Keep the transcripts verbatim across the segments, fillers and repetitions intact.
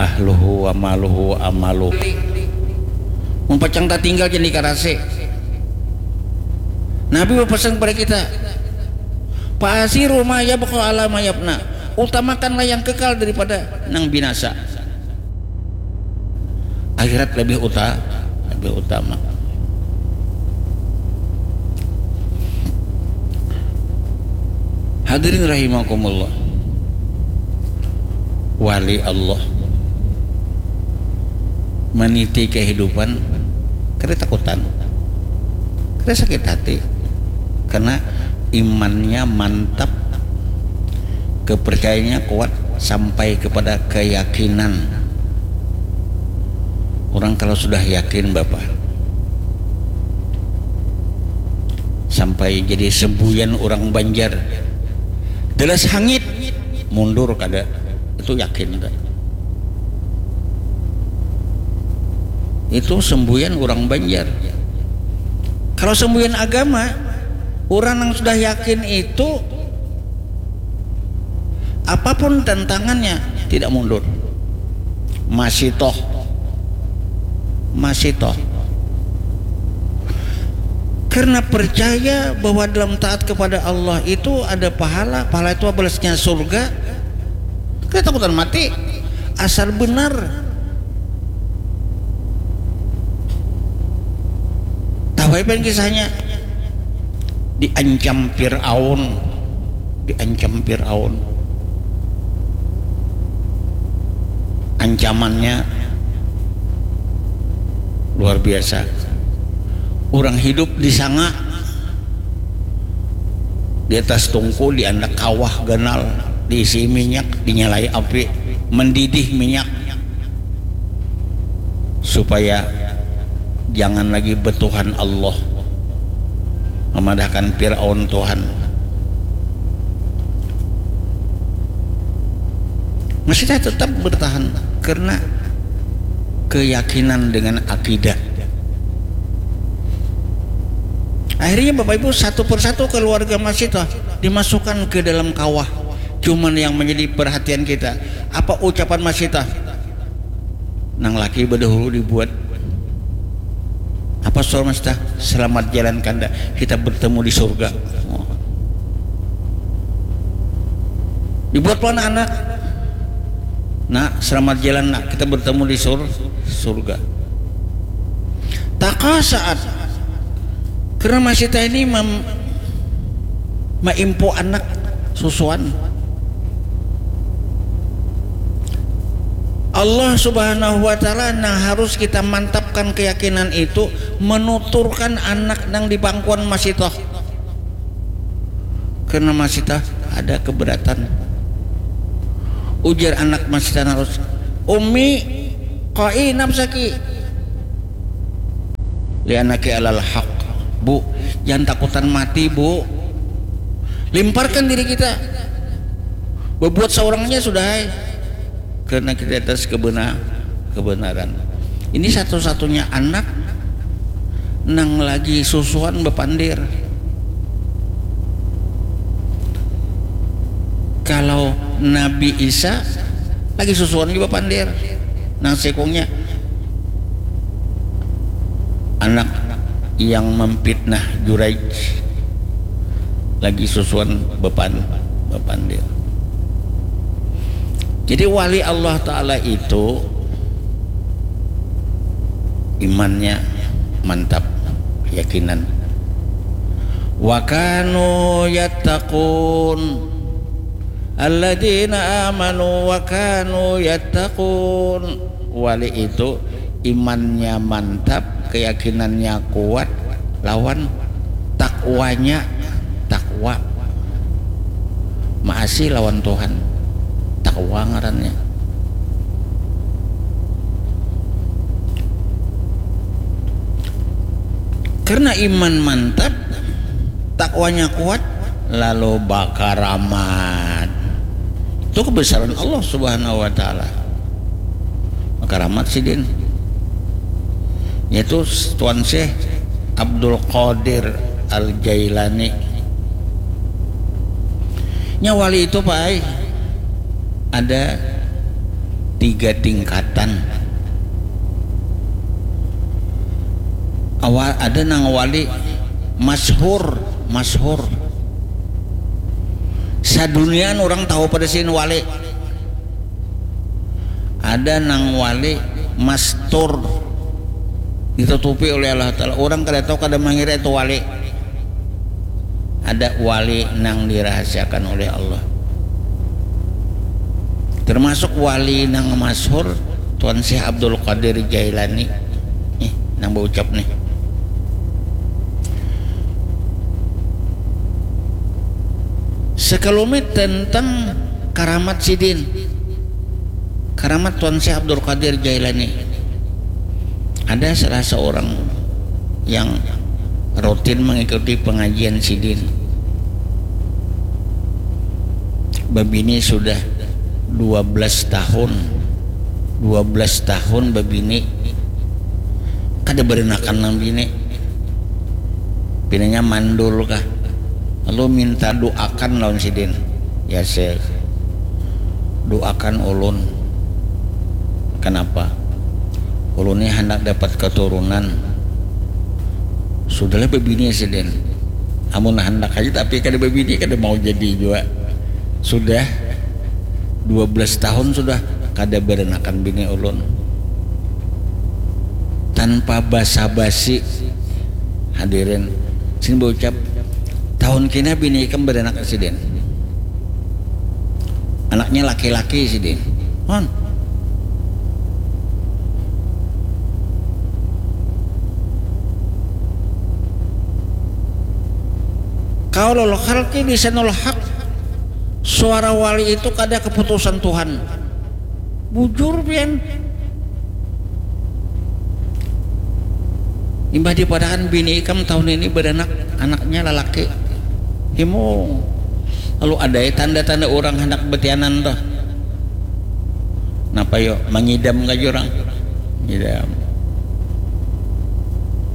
Ahluhu wa maluhu amalu. Mun pacang tatinggal jadi karasi. Nabi berpesan kepada kita, "Fa'asiru ma yabqa ala ma yabna." Utamakanlah yang kekal daripada nang binasa. Akhirat lebih uta lebih utama. Hadirin rahimakumullah. Wali Allah meniti kehidupan, kada takutan, kada sakit hati, karena imannya mantap, kepercayaannya kuat sampai kepada keyakinan. Orang kalau sudah yakin, Bapak, sampai jadi sembuyan orang Banjar, jelas hangit, mundur kada, itu yakin. Itu sembuyan orang Banjar. Kalau sembuyan agama, orang yang sudah yakin itu, apapun tantangannya, tidak mundur. Masih toh. Masih toh. Karena percaya bahwa dalam taat kepada Allah itu ada pahala, pahala itu balasnya surga. Kada takutan mati. Asal benar. Tahu apa yang kisahnya? Diancam Fir'aun. Diancam Fir'aun. Ancamannya luar biasa. Orang hidup disanga di atas tungku, di anak kawah ganal, diisi minyak, dinyalai api, mendidih minyak, supaya jangan lagi betuhan Allah, memadahkan Firaun Tuhan. Masih tetap bertahan karena keyakinan dengan akidah. Akhirnya Bapak Ibu, satu persatu keluarga Masita dimasukkan ke dalam kawah. Cuman yang menjadi perhatian kita, apa ucapan Masita? Nang laki bedahulu dibuat. Apa suara Masita? Selamat jalan kanda, kita bertemu di surga. Dibuat pun anak. Nak, selamat jalan nak, kita bertemu di sur surga. Taka saat karena Masita ini mem maimpu anak susuan. Allah Subhanahu wa Ta'ala nang harus kita mantapkan keyakinan itu, menuturkan anak nang di pangkuan Masita. Karena Masita ada keberatan. Ujar anak Masita narus, "Ummi, qai nafsaki. Lianaki alal haq." Bu, jangan takutan mati, Bu. Limparkan diri kita. Berbuat seorangnya sudah, hai. Karena kita atas kebenar kebenaran. Ini satu-satunya anak nang lagi susuan bepandir. Kalau Nabi Isa lagi susuan juga pandir. Nang sekungnya anak yang memfitnah Juraij lagi susuan bepan bepandir. Jadi wali Allah Ta'ala itu imannya mantap, keyakinan. Wa kanu yattaqun. Alladzina amanu wa kanu yattaqun. Wali itu imannya mantap, keyakinannya kuat, lawan takwanya, takwa. Maasi lawan Tuhan. Takwa ngarannya. Karena iman mantap, takwanya kuat, lalu bakaramat. Itu kebesaran Allah Subhanahu wa Ta'ala. Bakaramat sidin, yaitu Tuan Syekh Abdul Qadir Al Jailani. Nya wali itu, Pak ai, ada tiga tingkatan. Awal ada nang wali masyhur, masyhur. Sadunian orang tahu pada sin wali. Ada nang wali mastur, ditutupi oleh Allah Ta'ala. Orang kada tahu, kada mengira itu wali. Ada wali nang dirahasiakan oleh Allah. Termasuk wali nang masyhur Tuan Syekh Abdul Qadir Jailani. Nih, nang berucap nih. Sekelumit tentang karamat sidin. Karamat Tuan Syekh Abdul Qadir Jailani. Ada salah seorang yang rutin mengikuti pengajian sidin. Babini sudah dua belas tahun. Dua belas tahun babini. Kada berenakan nang bini. Pinanya mandul kah. Lalu minta doakan lawan sidin. Ya Syekh, doakan ulun. Kenapa? Ulun ni handak dapat keturunan. Sudahlah babini sidin. Amun handak aja tapi kada babini, kada mau jadi jua. Sudah dua belas tahun sudah kada berenakan bini ulun. Tanpa basa-basi, hadirin, sini berucap, tahun kini bini ikam berenak sidin. Anaknya laki-laki sidin. Hon. Qaulul khalqi lisanul haq. Suara wali itu kada keputusan Tuhan. Bujur pian. Imbah dipadakan bini ikam tahun ini beranak, anaknya lalaki. Himung. Lalu ada ya tanda-tanda orang hendak betianan tuh. Napa yo, mangidam ka jurang. Ngidam.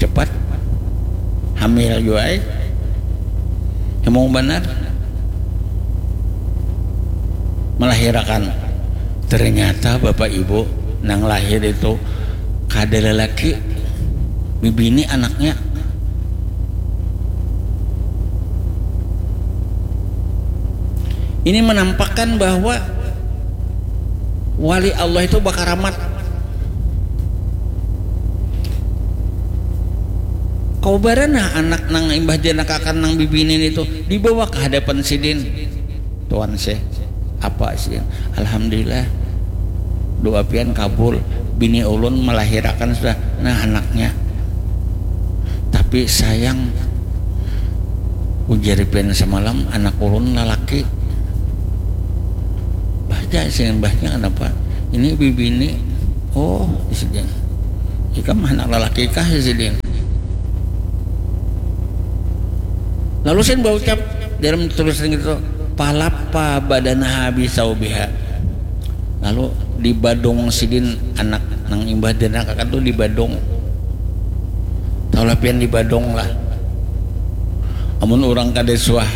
Cepat. Hamil jua ai. Himung banar. Melahirakan. Ternyata bapak ibu nang lahir itu kada lelaki, bibini anaknya. Ini menampakkan bahwa wali Allah itu bakaramat. Kau barana anak nang imbah janakakan nang bibini itu dibawa ke hadapan sidin. Tuan Syekh, apa sidin? Alhamdulillah. Doa pian kabul. Bini ulun melahirakan sudah. Nah, anaknya. Tapi sayang, ujar pian semalam anak ulun lalaki. Bahja sidin, bahnya kenapa? Ini bibini. Oh, sidin. Ikam anak lalaki kah sidin? Lalu sidin berucap dalam tulisan gitu, palapa badanaha bisaubiha. Lalu dibadung sidin anak nang imbah dianakakan tu dibadung. Tahulah pian dibadung lah. Amun urang kada suah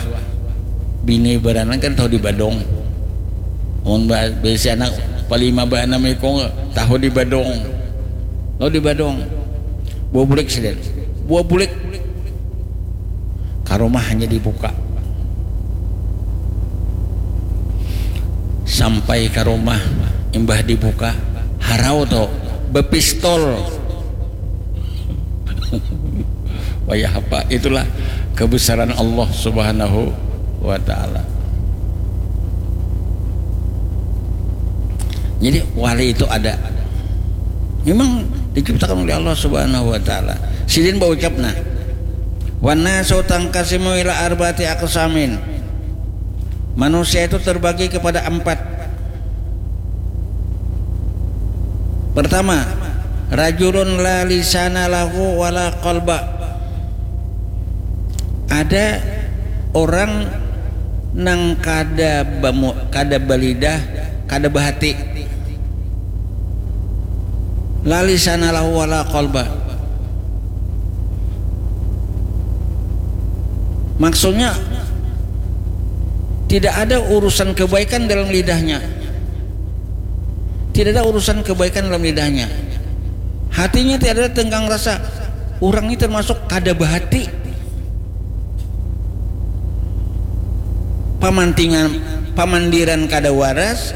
bini baranak kan tahu dibadung. Amun ba- bisi anak palima baanam ikung tahu dibadung. Lalu dibadung. Buah bulik sidin. Buah bulik. Ka rumah hanya dibuka. Sampai ka rumah imbah dibuka harau tu bepistol. Wayah apa? Itulah kebesaran Allah Subhanahu wa taala. Jadi wali itu ada. Memang diciptakan oleh Allah Subhanahu wa taala. Sidin berucap nah. Wan nasu tangkasimu ila arba'ati aqsamin. Manusia itu terbagi kepada empat. Pertama, rajulun la lisana lahu wala qalba. Ada orang nang kada bamu, kada balidah, kada bahati. La lisana lahu wala qalba. Maksudnya tidak ada urusan kebaikan dalam lidahnya. Tidak ada urusan kebaikan dalam lidahnya. Hatinya tiada tenggang rasa. Orang ini termasuk kada bahati. Pamantingan, pamandiran kada waras,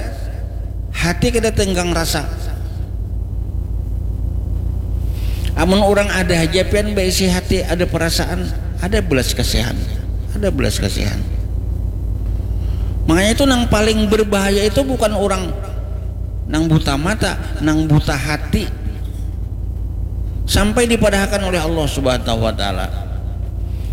hati kada tenggang rasa. Amun orang ada haja pian baisi hati, ada perasaan, ada belas kasihan, ada belas kasihan. Makanya itu nang paling berbahaya itu bukan orang nang buta mata, nang buta hati. Sampai dipadahakan oleh Allah Subhanahu wa Ta'ala.